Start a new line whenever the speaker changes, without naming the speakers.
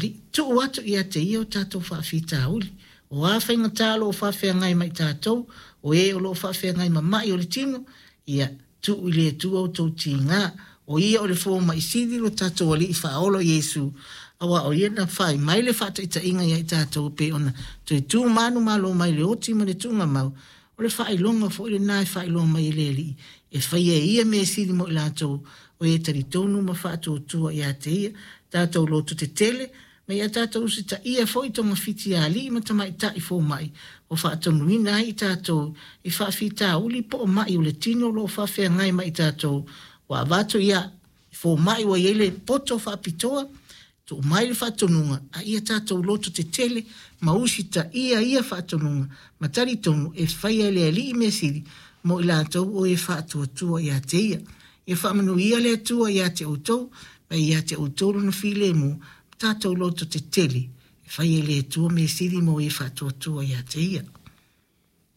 Alii. Tuu atu ia te Ia o tatou faafitauli. O a faigata o lo o faafeagai ma i tatou, o e o lo o faafeagai ma mai o le tino, ia tuu i le Atua outou tiga. O Ia o le fomai sili lo tatou Alii Faaola o Iesu, aua o Ia na fai mai le faataitaiga ia i tatou e pei ona toe tu manumalo mai le oti ma le tuugamau. O le faailoga foi lena e faailoa mai e le Alii, e faia e Ia mea sili mo i latou o e talitonu ma faatuatua ia te Ia. Tatou lototetele, ma ia tatou usitaia foi togafiti a alii ma tamaitai fomai ua faatonuina ai i tatou i faafitauli po o mai o le tino o lo o faafeagai ma i tatou ua avatu ia fomai ua i ai le poto faapitoa tuu mai le faatonuga a ia tatou lototetele ma usitaia ia faatonuga ma talitonu e faia e le Alii mea sili mo i latou o e faatuatua ia te Ia. Ia faamanuia le Atua ia te outou ma ia te outou lona filemu ma tatou lototetele e faia e le Atua mea sili mo e faatuatua ia te Ia.